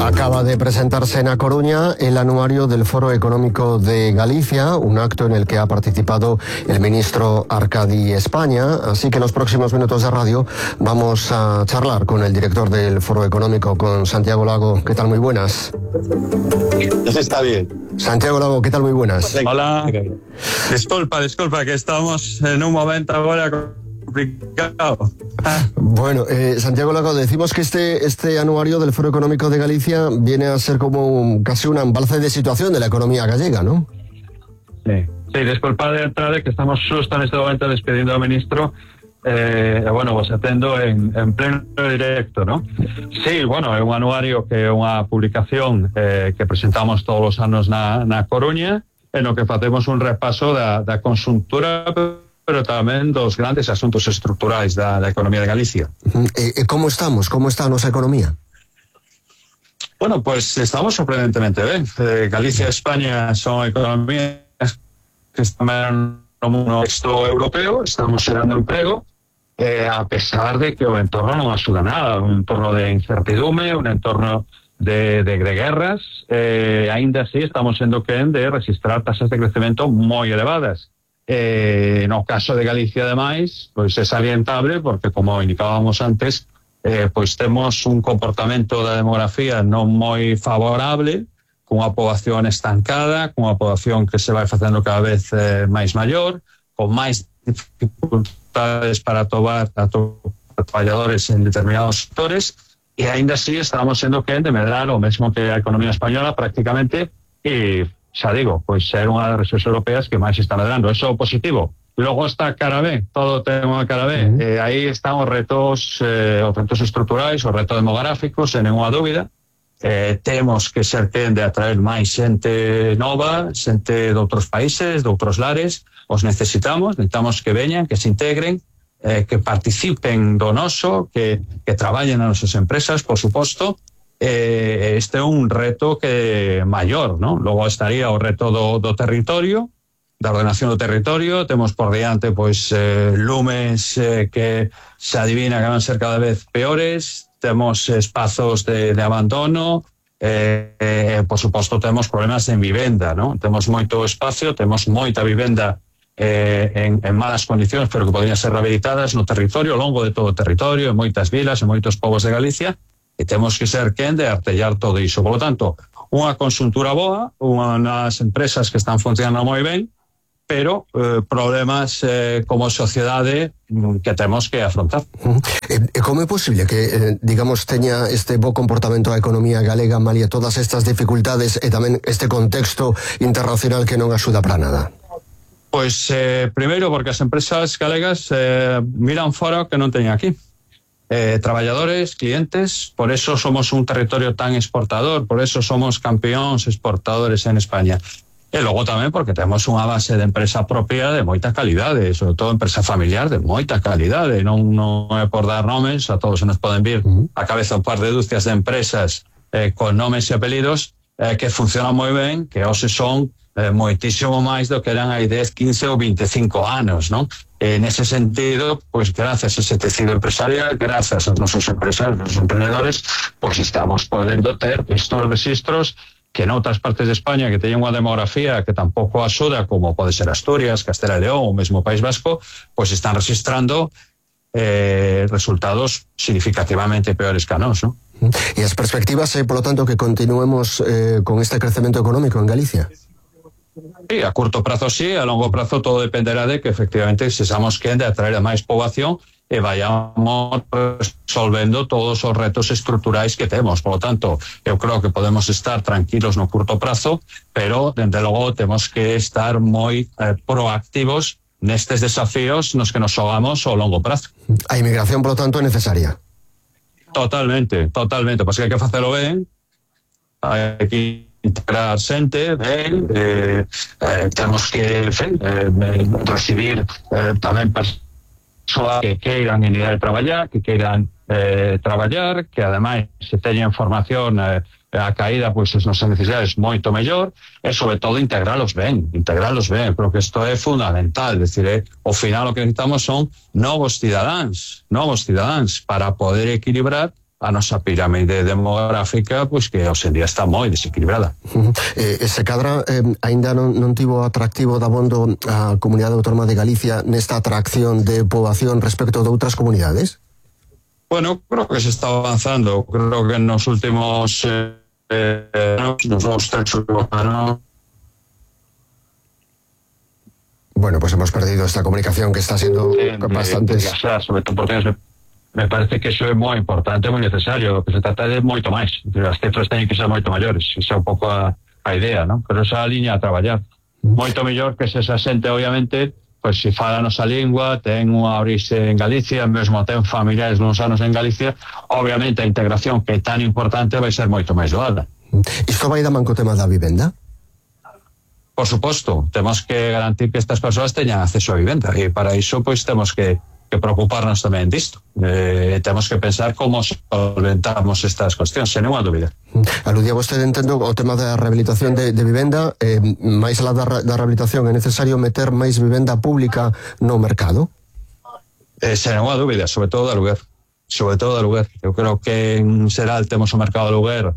Acaba de presentarse en A Coruña el anuario del Foro Económico de Galicia, un acto en el que ha participado el ministro Arcadi España, así que en los próximos minutos de radio vamos a charlar con el director del Foro Económico, con Santiago Lago. ¿Qué tal? Muy buenas. Eso está bien. Santiago Lago, ¿qué tal? Muy buenas. Hola. Disculpa, que estamos en un momento ahora complicado. Bueno, Santiago Lago, decimos que este anuario del Foro Económico de Galicia viene a ser como casi un embalce de situación de la economía gallega, ¿no? Sí, disculpa de entrada que estamos justo en este momento despidiendo al ministro. Vos atendo en pleno directo, ¿no? Sí, bueno, é un anuario que é unha publicación que presentamos todos os anos na Coruña, en o que facemos un repaso da conxuntura, pero tamén dos grandes asuntos estruturais da economía de Galicia. Como estamos? Como está a nosa economía? Bueno, pues estamos sorprendentemente ben. Galicia e España son economías que están no contexto europeo, estamos xerando emprego, a pesar de que o entorno non axuda nada, un entorno de incertidume, un entorno de guerras, aínda así estamos sendo quen de registrar tasas de crecemento moi elevadas. No caso de Galicia, ademais, pois é salientable porque, como indicábamos antes, pois temos un comportamento da demografía non moi favorable, cunha poboación estancada, cunha poboación que se vai facendo cada vez máis maior, con máis dificultades para atobar a traballadores en determinados sectores, e aínda así estamos sendo quen de medrar o mesmo que a economía española prácticamente, e xa digo, pois ser unha das rexións europeas que máis está medrando. Eso é positivo. Logo está a cara B, todo ten unha cara B. Aí están os retos estruturais, os retos demográficos, sen nenhuma dúbida. Temos que ser quen de atraer máis xente nova, xente de outros países, de outros lares. Os necesitamos que veñan, que se integren, que participen do noso, que traballen nas nosas empresas, por suposto. Este é un reto que maior, ¿no? Logo estaría o reto do territorio, da ordenación do territorio. Temos por diante pois lumes que se adivina que van ser cada vez peores. Temos espazos de abandono, por suposto temos problemas en vivenda, ¿no? Temos moito espacio, temos moita vivenda en malas condicións, pero que podrían ser rehabilitadas no territorio, ao longo de todo o territorio, en moitas vilas, en moitos povos de Galicia, e temos que ser quen de artellar todo iso. Por lo tanto, unha conxuntura boa, unhas empresas que están funcionando moi ben, pero problemas como sociedade que temos que afrontar. Como é posible que, digamos, teña este bo comportamento a economía galega malia todas estas dificultades e tamén este contexto internacional que non axuda para nada? Pois, primeiro, porque as empresas galegas miran fora o que non teñen aquí. Traballadores, clientes, por eso somos un territorio tan exportador, por eso somos campeóns exportadores en España. E logo tamén porque temos unha base de empresa propia de moita calidade, sobre todo empresa familiar de moita calidade. Non é por dar nomes, a todos se nos poden vir a cabeza un par de dúcias de empresas con nomes e apelidos que funcionan moi ben, que hoxe son moitísimo máis do que eran hai 10, 15 ou 25 anos, non? Nese sentido, pois gracias a ese tecido empresarial, gracias aos nosos empresarios, aos emprendedores, pois estamos podendo ter estos registros que en outras partes de España que teñen unha demografía que tampouco axuda, como pode ser Asturias, Castela e León ou mesmo País Vasco, pois están registrando resultados significativamente peores que a nós, non? E as perspectivas é, polo tanto, que continuemos con este crecemento económico en Galicia? Sí, a curto prazo sí, a longo prazo todo dependerá de que efectivamente sexamos quen de atraer a máis poboación e vayamos resolvendo todos os retos estruturais que temos. Por lo tanto, eu creo que podemos estar tranquilos no curto prazo, pero, dende logo, temos que estar moi proactivos nestes desafíos nos que nos xogamos ao longo prazo. A inmigración, por lo tanto, é necesaria? Totalmente. Pois que hai que facelo ben, hai que integrar xente ben, temos que recibir tamén persoas que queiran ir a traballar, que queiran traballar, que ademais se teñen formación a caída pois as nosas necesidades moito mellor, e sobre todo integralos ben, creo que isto é fundamental, decir, ao final o que necesitamos son novos cidadáns para poder equilibrar a nosa pirámide demográfica, pois que hoxe en día está moi desequilibrada. Se cadra aínda non tivo atractivo dabondo a Comunidade Autónoma de Galicia nesta atracción de poboación respecto de outras comunidades? Bueno, creo que se está avanzando. Creo que nos últimos anos, nos últimos 3 anos. Bueno, pues hemos perdido esta comunicación que está siendo bastante... Sobre todo porque me parece que iso é moi importante, moi necesario. O que se trata de moito máis. As cifras teñen que ser moito maiores. Esa é un pouco a idea, non? Pero esa liña a traballar. Moito mellor que se esa xente, obviamente, pois se fala a nosa lingua, ten unha orixe en Galicia, mesmo ten familiares nos anos en Galicia, obviamente a integración que é tan importante vai ser moito máis doada. Isto vai da man co tema da vivenda? Por suposto, temos que garantir que estas persoas teñan acceso a vivenda e para iso pois temos que preocuparnos tamén disto. Temos que pensar como solventamos estas cuestións, sen ninguna dúbida. Aludía vostede, entendo, o tema da rehabilitación de vivenda, máis alá da rehabilitación é necesario meter máis vivenda pública no mercado? Sen ninguna dúbida, sobre todo de aluguer. Sobre todo de aluguer. Eu creo que en xeral temos o mercado de aluguer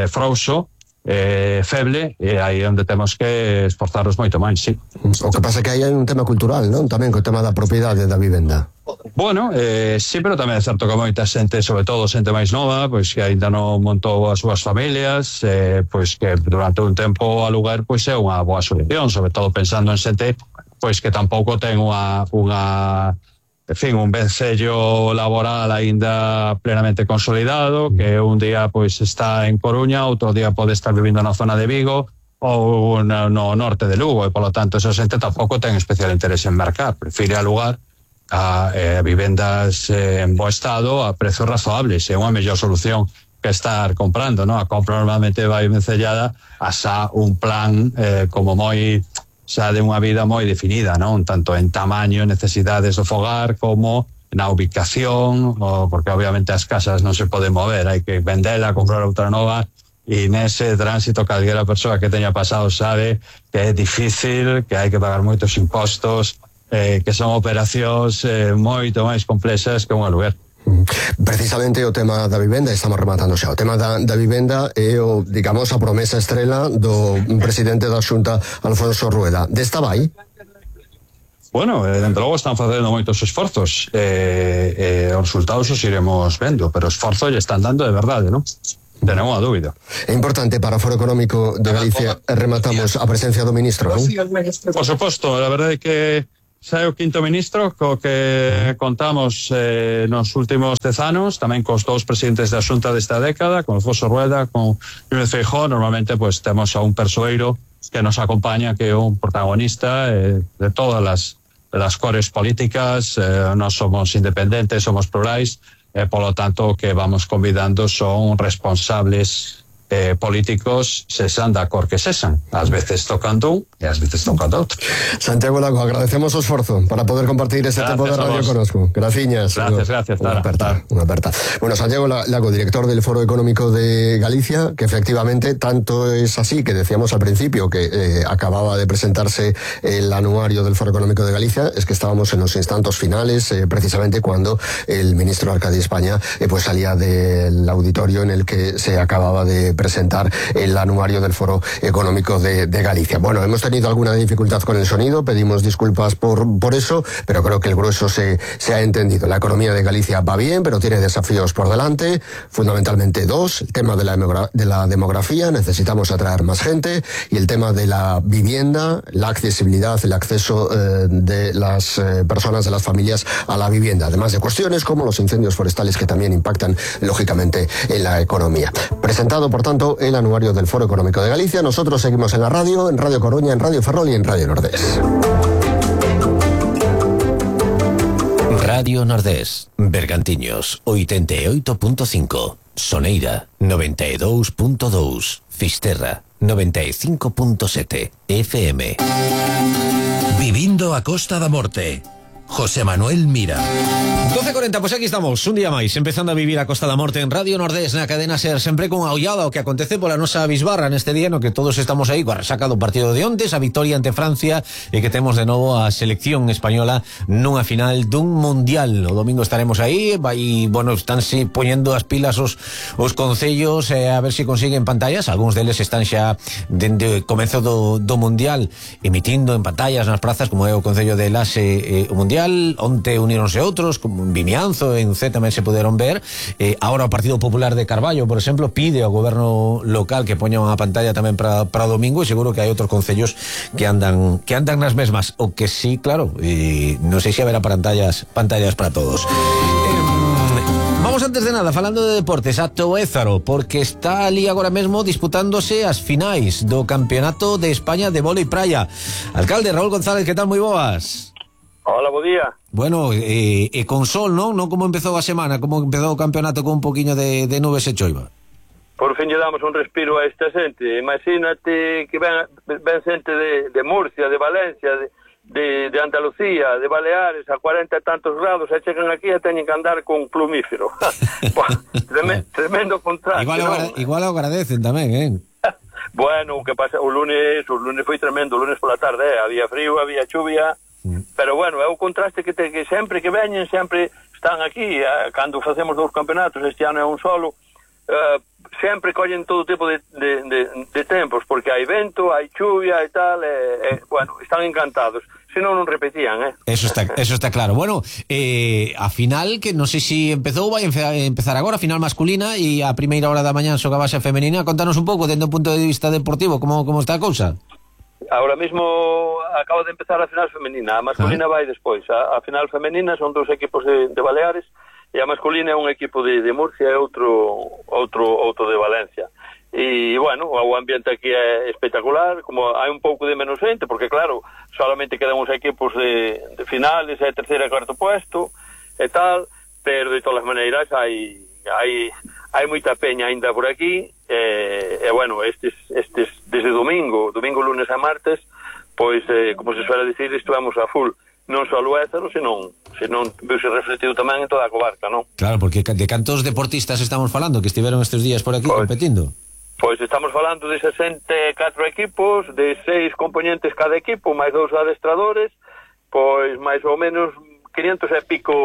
frouxo, feble, e aí onde temos que esforzarnos moito máis, sí. O que pasa é que aí hai un tema cultural, non? Tamén co tema da propiedade da vivenda. Bueno, sí, pero tamén é certo que moita xente, sobre todo xente máis nova, pois que ainda non montou as súas familias, pois que durante un tempo alugar pois é unha boa solución, sobre todo pensando en xente pois que tampouco ten un vencello laboral aínda plenamente consolidado, que un día pois está en Coruña, outro día pode estar vivindo na zona de Vigo ou no norte de Lugo, e polo tanto esa xente tampouco ten especial interés en mercar, prefire alugar a vivendas en bo estado a prezos razoables. É unha mellor solución que estar comprando, non? A compra normalmente vai vencellada a xa un plan como moi xa de unha vida moi definida, non? Tanto en tamaño, necesidades do fogar, como na ubicación, porque obviamente as casas non se poden mover, hai que vendela, comprar outra nova, e nese tránsito calquera persoa que teña pasado sabe que é difícil, que hai que pagar moitos impostos, que son operacións moito máis complexas que un aluguer. Precisamente o tema da vivenda, estamos rematando xa, o tema da vivenda é digamos, a promesa estrela do presidente da Xunta, Alfonso Rueda. Desta vai? Bueno, dentro logo están facendo moitos esforzos, os resultados os iremos vendo, pero esforzo lle están dando de verdade, non? Tenemos a dúbida. É importante para o Foro Económico de Galicia, rematamos a presencia do ministro, non? Por suposto, a verdade é que xa é o quinto ministro co que contamos nos últimos 10 anos, tamén cos dous presidentes da Xunta desta década, con Alfonso Rueda, con Núñez Feijóo. Normalmente pues temos a un persoeiro que nos acompaña, que é un protagonista de todas las cores políticas. Nós somos independentes, somos plurais, polo tanto que vamos convidando son responsables políticos, sesan da cor que sesan. Ás veces tocando un e ás veces tocando outro. Santiago Lago, agradecemos o esforzo para poder compartir este tempo de radio conosco. Graciñas. Gracias. Unha aperta. Bueno, Santiago Lago, director del Foro Económico de Galicia, que efectivamente tanto es así que decíamos al principio que acababa de presentarse el anuario del Foro Económico de Galicia, es que estábamos en los instantes finales, precisamente cuando el ministro Arcadi España pues salía del auditorio en el que se acababa de presentar el anuario del Foro Económico de Galicia. Bueno, hemos tenido alguna dificultad con el sonido, pedimos disculpas por eso, pero creo que el grueso se ha entendido. La economía de Galicia va bien, pero tiene desafíos por delante, fundamentalmente dos: el tema de la demografía, necesitamos atraer más gente, y el tema de la vivienda, la accesibilidad, el acceso de las personas, de las familias a la vivienda, además de cuestiones como los incendios forestales, que también impactan lógicamente en la economía. Presentado, por tanto, el anuario del Foro Económico de Galicia. Nosotros seguimos en la radio, en Radio Coruña, en Radio Ferrol y en Radio Nordés. Radio Nordés, Bergantiños 88.5, Soneira 92.2, Fisterra 95.7 FM. Vivindo a Costa da Morte. José Manuel Mira. 12:40, pues aquí estamos, un día máis, empezando a vivir a Costa da Morte en Radio Nordés, na cadena SER, sempre con a ollada o que acontece pola nosa bisbarra neste día no que todos estamos aí coa resaca do partido de ontes, a victoria ante Francia e que temos de novo a selección española nunha final dun mundial. O domingo estaremos aí, bueno, estánse poñendo as pilas os concellos a ver se consiguen pantallas, algúns deles están xa dende o comezo do mundial emitindo en pantallas nas prazas, como é o concello de Lase o mundial, onte uníronse outros, como en Vimianzo, en C tamén se poderon ver. Ahora o Partido Popular de Carballo, por exemplo, pide ao goberno local que poña unha pantalla tamén para domingo, e seguro que hai outros concellos que andan nas mesmas, o que sí, claro, non sei se haberá pantallas para todos. Vamos antes de nada, falando de deportes, a Toézaro, porque está ali agora mesmo disputándose as finais do Campeonato de España de vólei praia. Alcalde Raúl González, que tal? Moi boas. Hola, bo día. Bueno, con sol, non? Non como empezou a semana, como empezou o campeonato con un poquinho de nubes e choiva. Por fin lle damos un respiro a esta xente. Imagínate que ven xente de Murcia, de Valencia, de Andalucía, de Baleares, a 40 e tantos grados, e chegan aquí e teñen que andar con plumífero. Tremendo contraste. Igual o agradecen tamén, Bueno, o que pasa, o lunes foi tremendo, o lunes pola tarde, había frío, había chuvia, pero bueno, é o contraste que sempre que veñen, sempre están aquí, cando facemos 2 campeonatos, este ano é un solo, sempre collen todo tipo de tempos, porque hai vento, hai chuvia e tal, bueno, están encantados. Se non repetían, Eso está claro. Bueno, a final, que non sei se empezou, vai empezar agora, a final masculina, e a primeira hora da mañá xogabase a femenina. Contanos un pouco, dende o punto de vista deportivo, como está a cousa? Ahora mismo acaba de empezar a final femenina, a masculina vai despois. A final femenina son 2 equipos de Baleares, e a masculina é un equipo de Murcia e outro de Valencia. E, bueno, o ambiente aquí é espectacular, como hai un pouco de menos xente, porque, claro, solamente quedan os equipos de finales, é terceiro e cuarto puesto, e tal, pero de todas as maneiras hai moita peña ainda por aquí, e bueno, estes desde domingo, lunes a martes, pois, como se suele dicir, estivemos a full, non só o Ézaro, senón veuse refletido tamén en toda a comarca, non? Claro, porque de cantos deportistas estamos falando que estiveron estes días por aquí competindo? Pois estamos falando de 64 equipos, de 6 componentes cada equipo, máis 2 adestradores, pois máis ou menos 500 e pico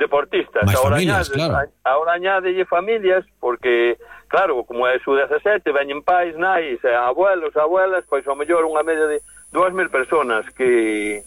deportistas. Mais familias, claro. Ahora añádelle familias, porque, claro, como é sub-17, veñen pais, nais, abuelos, abuelas, pois ao mellor unha media de 2.000 personas que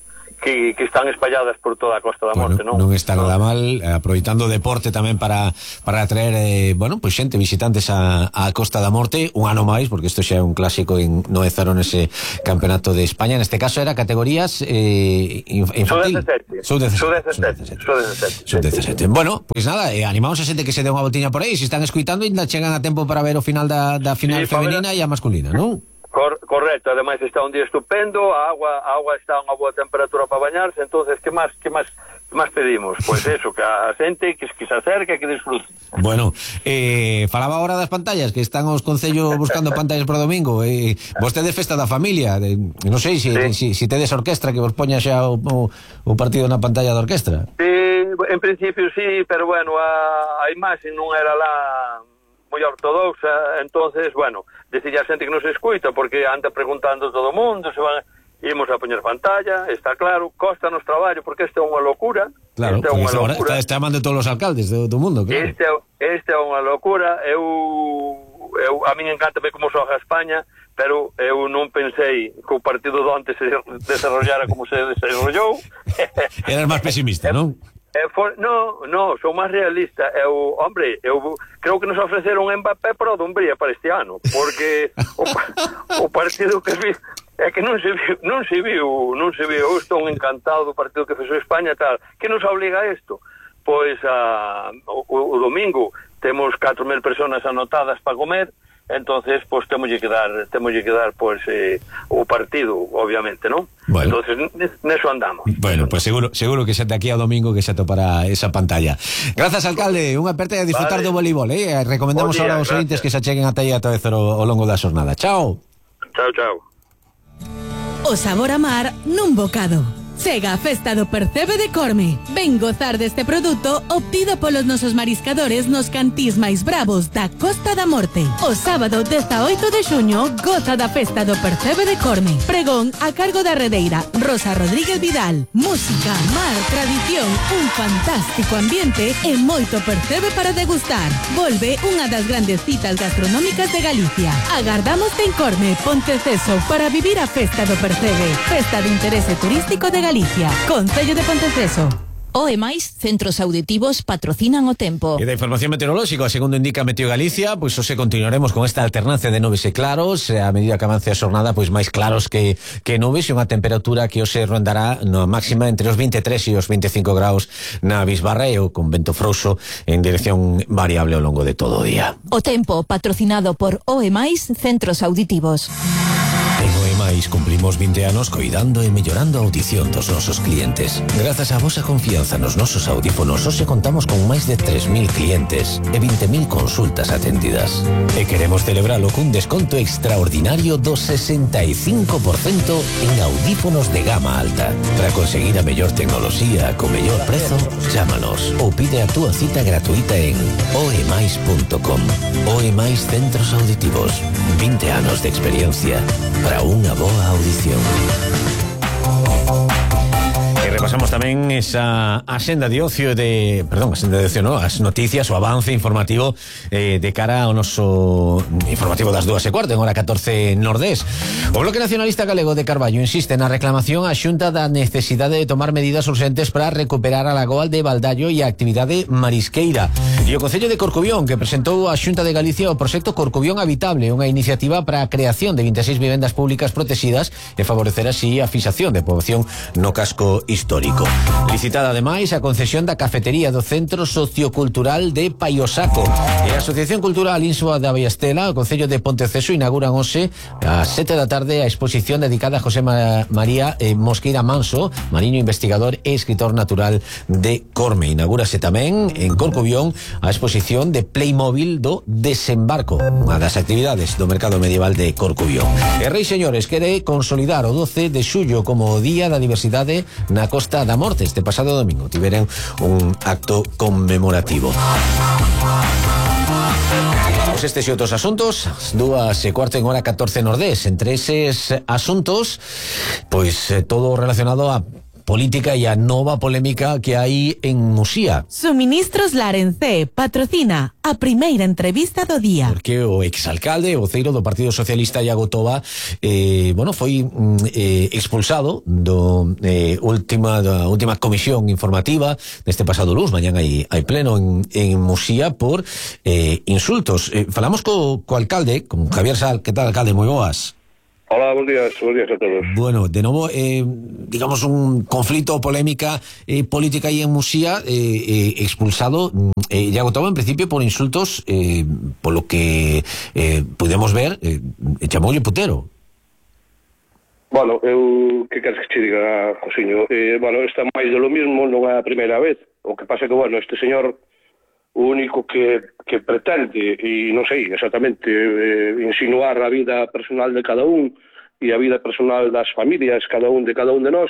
están espalladas por toda a Costa da Morte, non? Non está nada mal, aproveitando o deporte tamén para atraer, pois xente, visitantes a Costa da Morte, un ano máis, porque isto xa é un clásico no Ézaro nese campeonato de España. Neste caso era categorías infantil. Sub-17. Bueno, pois nada, animamos a xente que se dé unha voltiña por aí, se están escuitando, ainda chegan a tempo para ver o final da final femenina e a masculina, non? Correcto, ademais está un día estupendo, a agua está a unha boa temperatura para bañarse, entonces que máis pedimos? Pois eso, que a xente que se acerque, que disfrute. Bueno, falaba agora das pantallas, que están os concellos buscando pantallas para domingo, vostedes festa da familia, non sei se tedes orquestra que vos poña xa o partido na pantalla da orquestra. En principio sí, pero bueno, a imaxe non era lá moi ortodoxa, entonces, bueno, decía a xente que non se escuita, porque anda preguntando todo o mundo, ímos a poñer pantalla, está claro, costa nos traballo, porque esta é unha locura. Claro, está amando todos os alcaldes do mundo, claro. Esta é unha locura, a min encanta ver como xoga España, pero eu non pensei que o partido de onte se desarrollara como se desarrollou. Eras máis pesimista, non? No, sou máis realista. Eu creo que nos ofreceron Mbappé para o Dumbría para este ano, porque o partido que vi é que non se viu. Eu estou encantado do partido que fez España, tal. Que nos obliga a isto? Pois o domingo temos 4.000 personas anotadas para comer. Entonces, pues temolle que dar pues o partido, obviamente, ¿no? Bueno. Entonces, neso andamos. Bueno, pues seguro que xa de aquí ao domingo que xa topará esa pantalla. Grazas, alcalde, unha aperta a disfrutar do voleibol, recomendamos ahora aos ointes que se acheguen ata aí a Toézaro ao longo da xornada. Chao. Chao. O sabor a mar nun bocado. Chega a Festa do Percebe de Corme. Ven gozar deste produto obtido polos nosos mariscadores nos cantís máis bravos da Costa da Morte. O sábado 18 de xuño goza da Festa do Percebe de Corme. Pregón a cargo da redeira Rosa Rodríguez Vidal. Música, mar, tradición, un fantástico ambiente e moito percebe para degustar. Volve unha das grandes citas gastronómicas de Galicia. Agardámoste en Corme, Ponteceso, para vivir a Festa do Percebe. Festa de interese turístico de Galicia. Concello de Ponteceso. OE máis centros auditivos patrocinan o tempo. E da información meteorolóxica, segundo indica Meteo Galicia, pois hoxe continuaremos con esta alternancia de nubes e claros, a medida que avance a xornada, pois máis claros que nubes, e unha temperatura que hoxe rondará na máxima entre os 23 e os 25 graus na Bisbarra, e con vento frouxo en dirección variable ao longo de todo o día. O tempo patrocinado por OE máis centros auditivos. En OEMAIS cumplimos 20 anos coidando e mellorando a audición dos nosos clientes. Grazas á vosa confianza nos nosos audífonos, hoxe contamos con máis de 3.000 clientes e 20.000 consultas atendidas. E queremos celebralo cun desconto extraordinario do 65% en audífonos de gama alta. Para conseguir a mellor tecnoloxía co mellor prezo, chámanos ou pide a túa cita gratuita en oemais.com. OEMAIS Centros Auditivos. 20 anos de experiencia para unha boa audición. E repasamos tamén esa axenda de ocio as noticias, o avance informativo de cara ao noso informativo das 2:15 en hora 14 Nordés. O Bloque Nacionalista Galego de Carballo insiste na reclamación á Xunta da necesidade de tomar medidas urgentes para recuperar a lagoa de Baldaio e a actividade marisqueira. E o Concello de Corcubión, que presentou á Xunta de Galicia o proxecto Corcubión Habitable, unha iniciativa para a creación de 26 vivendas públicas protegidas e favorecer así a fixación de poboación no casco histórico. Licitada ademais a concesión da cafetería do Centro Sociocultural de Paiosaco. E a Asociación Cultural Insua da Ballestela, o Concello de Ponteceso, inauguran hoxe ás 7 da tarde a exposición dedicada a José María Mosqueira Manso, mariño investigador e escritor natural de Corme. Inaugúrase tamén en Corcubión a exposición de Playmobil do Desembarco, unha das actividades do mercado medieval de Corcubión. E Rei Señores quere consolidar o 12 de xullo como Día da Diversidade na Costa da Morte. Este pasado domingo tiveron un acto conmemorativo. Estes e outros asuntos, 2:15 en hora 14 Nordés. Entre eses asuntos, pois todo relacionado a política e a nova polémica que hai en Muxía. Suministros Larencé patrocina a primeira entrevista do día. Porque o exalcalde, o voceiro do Partido Socialista, Iago Toba, foi expulsado da última comisión informativa deste pasado luns. Mañán hai pleno en Muxía por insultos. Falamos co alcalde, con Javier Sal. Que tal, alcalde? Moi boas. Hola, buenos días a todos. Bueno, de novo, digamos, un conflito, polémica política aí en Muxía, expulsado Iago Toba, en principio, por insultos, polo que pudemos ver, chamoulle putero. Bueno, eu que queres que che diga, Josiño? Está máis de lo mismo, non é a primeira vez. O que pasa é que, este señor, o único que pretende, e non sei exactamente, insinuar a vida personal de cada un e a vida personal das familias, cada un de nós,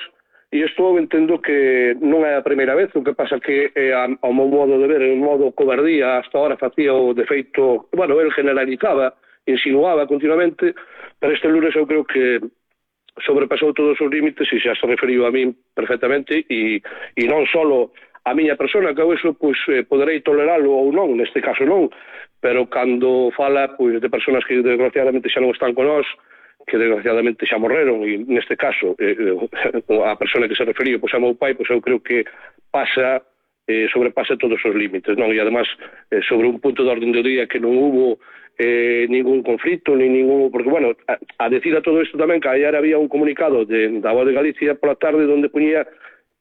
e isto entendo que non é a primeira vez. O que pasa que, ao meu modo de ver, en modo cobardía, hasta ahora facía o defeito, el generalizaba, insinuaba continuamente, pero este lunes eu creo que sobrepasou todos os límites e xa se referiu a min perfectamente, e non só a miña persona, que eu iso poderei toleralo ou non, neste caso non, pero cando fala de personas que desgraciadamente xa non están con nós, que desgraciadamente xa morreron, e neste caso a persona que se referiu a meu pai, eu creo que sobrepasa todos os límites, non? E además sobre un punto de orden do día que non hubo ningún conflito, porque a decir a todo isto tamén que ayer había un comunicado da Voz de Galicia pola tarde onde poñía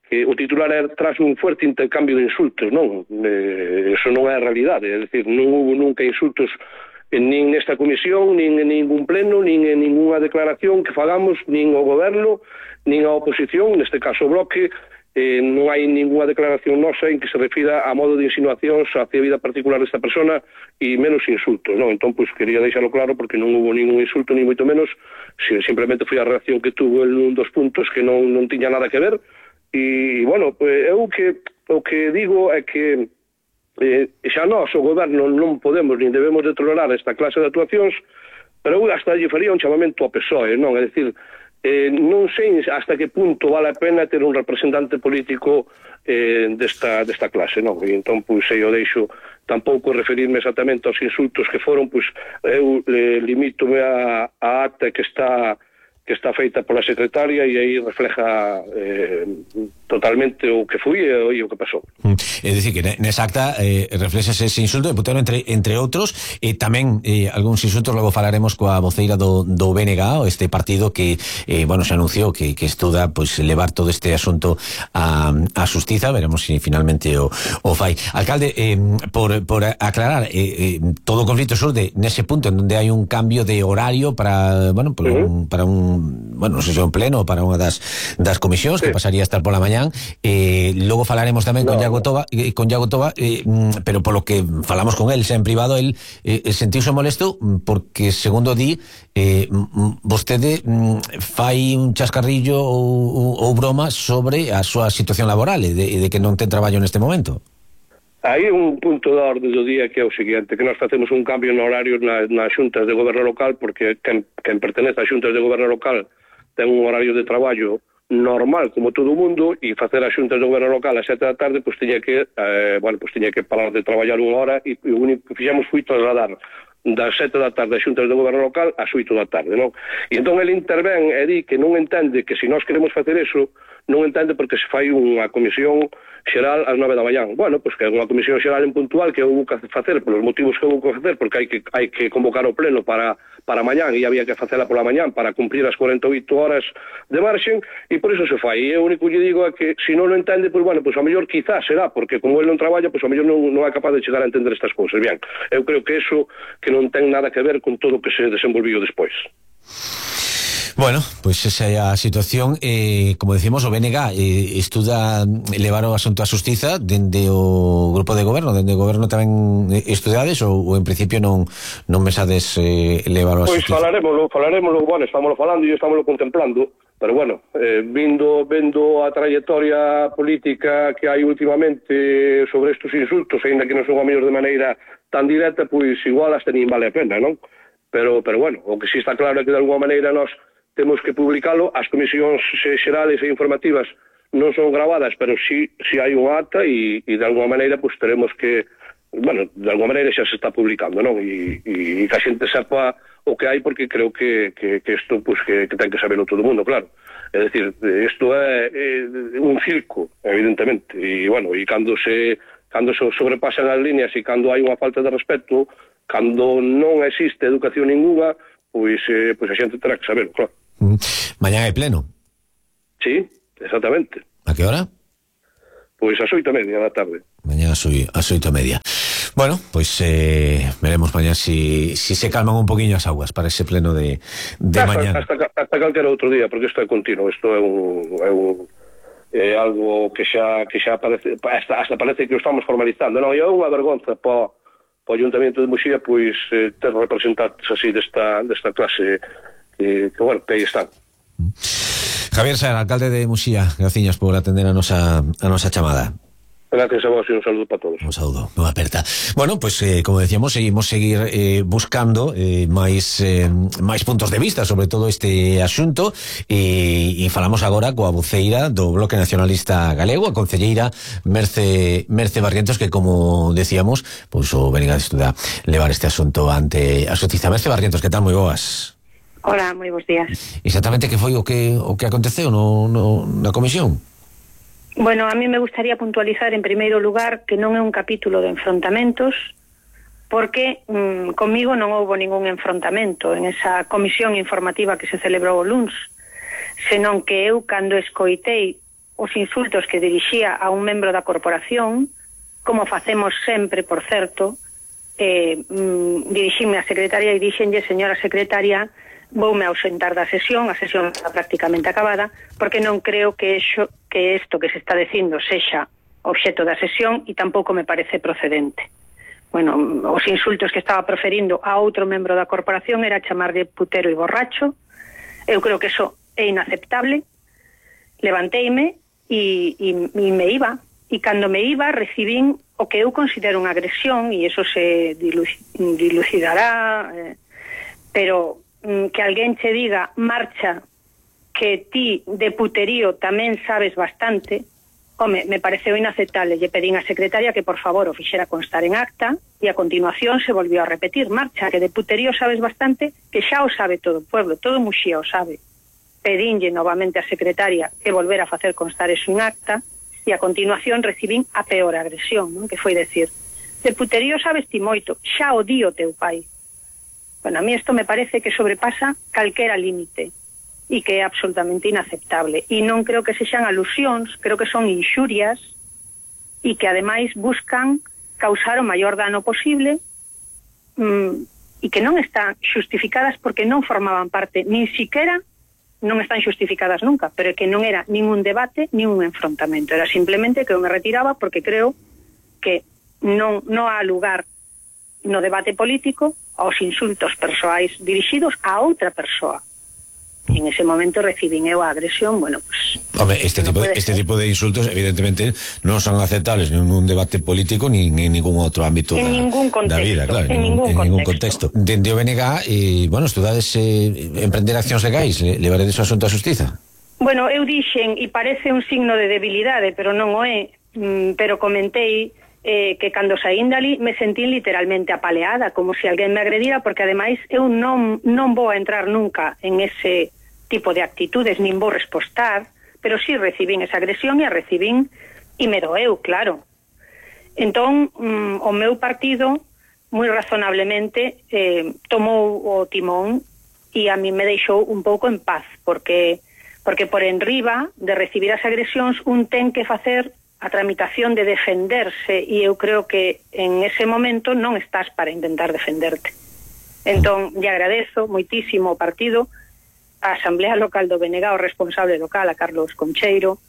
que o titular era tras un fuerte intercambio de insultos. Non, eso non é a realidade, é dicir, non hubo nunca insultos nin nesta comisión, nin en ningún pleno, nin en ninguna declaración que fagamos, nin ao goberno, nin á oposición, neste caso o Bloque. Non hai ninguna declaración nosa en que se refira a modo de insinuacións hacia a vida particular desta persona e menos insultos, non? Entón, quería deixalo claro porque non hubo ningún insulto, ni moito menos, simplemente foi a reacción que tuvo en un dos puntos que non tiña nada que ver, E, bueno, eu o que digo é que xa nós, o goberno, non podemos nin debemos de tolerar esta clase de actuacións, pero eu hasta lle faría un chamamento ao PSOE, non? É dicir, non sei hasta que punto vale a pena ter un representante político desta clase, non? E entón, pois, eu deixo tampouco referirme exactamente aos insultos que foron, pois, eu limítome a ata que está feita pola secretaria e aí refleja totalmente o que fui e o que pasou. É dicir, que nesa acta reflexa ese insulto de Putero entre outros, e tamén algúns insultos, logo falaremos coa voceira do BNG, este partido que, bueno, se anunciou que estuda, pois, levar todo este asunto a xustiza. Veremos se finalmente o fai. Alcalde, por aclarar, todo o conflito surde nese punto en donde hai un cambio de horario para, bueno, para un bueno, non sei se un pleno para unha das comisións que pasaría a estar pola mañán. Logo falaremos tamén con Iago Toba, pero polo que falamos con el en privado, el sentiuse molesto porque, segundo di, vostede fai un chascarrillo ou broma sobre a súa situación laboral e de que non ten traballo neste momento. Hai un punto da orde do día que é o seguinte, que nós facemos un cambio no horario nas xuntas de goberno local, porque quen pertenece ás xuntas de goberno local ten un horario de traballo normal como todo o mundo, e facer as xuntas de goberno local ás 7 da tarde, pois tiña que parar de traballar unha hora, e o único que fixemos foi trasladar das 7 da tarde as xuntas de goberno local ás 8 da tarde, non? E entón ele intervén e di que non entende que se nós queremos facer eso, non entende porque se fai unha comisión xeral ás 9 da mañán. Bueno, pois que é unha comisión xeral en puntual que houve que facer polos motivos que houve que facer, porque hai que convocar o pleno para mañán, e había que facela pola mañán para cumprir as 48 horas de marxen, e por iso se fai. E o único que digo é que se non o entende, pois bueno, pois a mellor quizás será porque como ele non traballa, pois a mellor non é capaz de chegar a entender estas cousas. Bien, eu creo que eso que non ten nada que ver con todo o que se desenvolviu despois. Bueno, pois esa é a situación. Como decimos, o BNG estuda levar o asunto a xustiza dende o grupo de goberno. Dende o goberno tamén estudades ou en principio non pensades levar o a xustiza? Pois falaremoslo, bueno, estámoslo falando e estámoslo contemplando, pero bueno, vendo a trayectoria política que hai últimamente sobre estes insultos, ainda que non son a mellor de maneira tan directa, pois igual hasta nin vale a pena, non? Pero bueno, o que sí está claro é que de alguma maneira nós temos que publicalo. As comisións xerales e informativas non son gravadas, pero sí hai unha acta e de alguma maneira pues teremos que, bueno, de alguma maneira xa se está publicando, non? E que a xente sepa o que hai, porque creo que isto pues que ten que saberlo todo o mundo, claro. É dicir, isto é un circo, evidentemente, e bueno, e cando se sobrepasan as líneas e cando hai unha falta de respeto, cando non existe educación ninguna, pois a xente terá que saberlo, claro. Mañán hai pleno? Sí, exactamente. A que hora? Pois ás 8:30 da tarde. Mañán ás 8:30. Bueno, pois veremos mañán si se calman un poquinho as aguas para ese pleno de mañán. Hasta calquera outro día, porque isto é continuo, isto é algo que xa parece, hasta parece que o estamos formalizando, non? E é unha vergonza para o Ayuntamiento de Muxía, pois ter representantes así desta clase que bueno, que aí están. Javier Saer, alcalde de Muxía, graciñas por atender a nosa chamada. Gracias a vos e un saludo para todos. Un saludo, non aperta. Bueno, pues como decíamos, seguimos seguir buscando máis puntos de vista sobre todo este asunto, e falamos agora coa voceira do Bloque Nacionalista Galego, a concelleira Merce Barrientos, que, como decíamos, pues o BNG estuda levar este asunto ante a xustiza. Merce Barrientos, que tal? Moi boas. Hola, moi bons días. Exactamente que foi o que aconteceu na comisión? Bueno, a mí me gustaría puntualizar en primeiro lugar que non é un capítulo de enfrontamentos, porque comigo non houbo ningún enfrontamento en esa comisión informativa que se celebrou o luns, senón que eu, cando escoitei os insultos que dirixía a un membro da corporación, como facemos sempre, por certo, dirixime á secretaria e dixenlle: señora secretaria, voume ausentar da sesión, a sesión está prácticamente acabada, porque non creo que isto que se está dicindo sexa obxeto da sesión, e tampouco me parece procedente. Bueno, os insultos que estaba proferindo a outro membro da corporación era chamarlle putero e borracho. Eu creo que eso é inaceptable. Levanteime e me iba. E cando me iba recibín o que eu considero unha agresión, e eso se dilucidará, pero que alguén che diga marcha, que ti de puterío tamén sabes bastante, home, me pareceu inaceptable. Lle pedín a secretaria que por favor o fixera constar en acta, e a continuación se volvió a repetir, marcha, que de puterío sabes bastante, que xa o sabe todo o pueblo, todo Muxía o sabe. Pedínlle novamente a secretaria que volvera a facer constar eso en acta, e a continuación recibín a peor agresión, non? Que foi decir, de puterío sabes ti moito, xa o di o teu pai. Bueno, a mí isto me parece que sobrepasa calquera límite e que é absolutamente inaceptable. E non creo que sexan alusións, creo que son inxurias e que ademais buscan causar o maior dano posible e que non están xustificadas porque non formaban parte, nin siquiera non están xustificadas nunca, pero que non era nin un debate nin un enfrontamento, era simplemente que eu me retiraba porque creo que non há lugar no debate político aos insultos persoais dirixidos a outra persoa. En ese momento recibín eu a agresión, bueno, pues... Home, este tipo de insultos evidentemente non son aceptables en un debate político ni en ningún outro ámbito da vida, claro, en ningún contexto. Dende o BNG, bueno, estudades emprender accións legais, levaredes o asunto á xustiza? Bueno, eu dixen, e parece un signo de debilidade, pero non o é, pero comentei que cando saín dali me sentí literalmente apaleada, como se alguén me agredira, porque ademais eu non vou a entrar nunca en ese tipo de actitudes, nin vou respostar, pero sí recibín esa agresión e a recibín e me doeu, claro. Entón, o meu partido moi razonablemente tomou o timón e a mí me deixou un pouco en paz, porque por enriba de recibir as agresións un ten que facer a tramitación de defenderse, e eu creo que en ese momento non estás para intentar defenderte. Entón, lle agradezo moitísimo ao partido, a Asamblea Local do BNG, o responsable local, a Carlos Concheiro,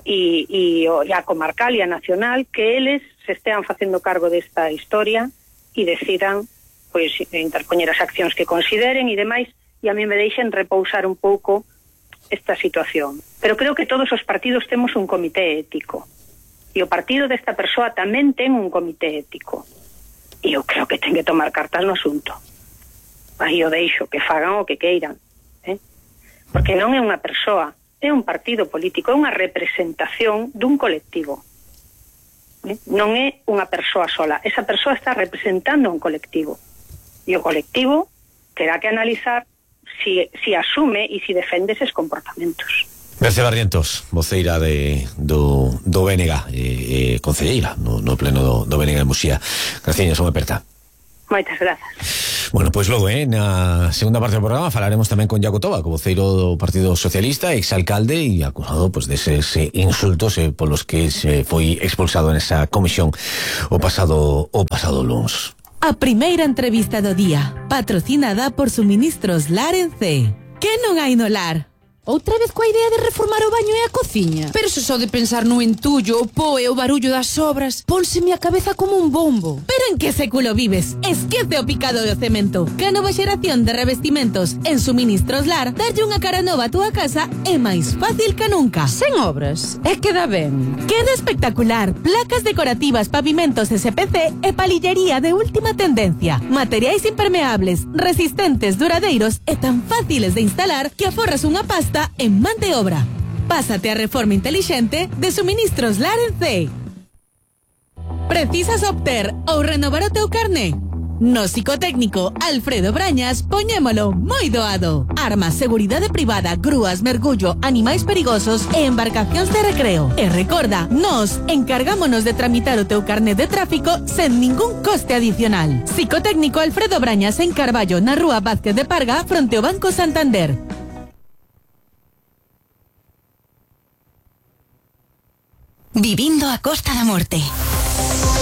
e a comarcal e a nacional, que eles se estean facendo cargo desta historia e decidan pois interpoñer as accións que consideren e demais, e a mí me deixen repousar un pouco esta situación. Pero creo que todos os partidos temos un comité ético, e o partido desta persoa tamén ten un comité ético, e eu creo que ten que tomar cartas no asunto. Aí o deixo, que fagan o que queiran, porque non é unha persoa, é un partido político, é unha representación dun colectivo, non é unha persoa sola, esa persoa está representando un colectivo, e o colectivo terá que analizar si asume e si defende eses comportamentos. Mercé Barrientos, voceira do BNG, concelleira no pleno do BNG en Muxía. Graciñas, unha aperta. Moitas grazas. Bueno, pois logo, na segunda parte do programa falaremos tamén con Iago Toba, voceiro do Partido Socialista, exalcalde e acusado deses insultos polos que se foi expulsado nesa comisión o pasado luns. A primeira entrevista do día, patrocinada por Suministros Lar en C. Que non hai no lar? Outra vez coa idea de reformar o baño e a cociña? Pero se só de pensar no entullo, o pó e o barullo das obras, pónseme a cabeza como un bombo. Pero en que século vives? Esquece o picado do cemento. Que a nova xeración de revestimentos en Suministros Lar darlle unha cara nova a túa casa é máis fácil que nunca. Sen obras, é que dá ben. Queda espectacular. Placas decorativas, pavimentos SPC e palillería de última tendencia. Materiais impermeables, resistentes, duradeiros e tan fáciles de instalar que aforras unha pasta en man de obra. Pásate a reforma inteligente de Suministros Lar en C. Precisas obter ou renovar o teu carné? No psicotécnico Alfredo Brañas poñémolo moi doado. Armas, seguridade privada, grúas, mergullo, animais perigosos e embarcacións de recreo. E recorda, nos encargámonos de tramitar o teu carné de tráfico sen ningún coste adicional. Psicotécnico Alfredo Brañas en Carballo, na rúa Vázquez de Parga, fronte ao Banco Santander. Vivindo a Costa da Morte.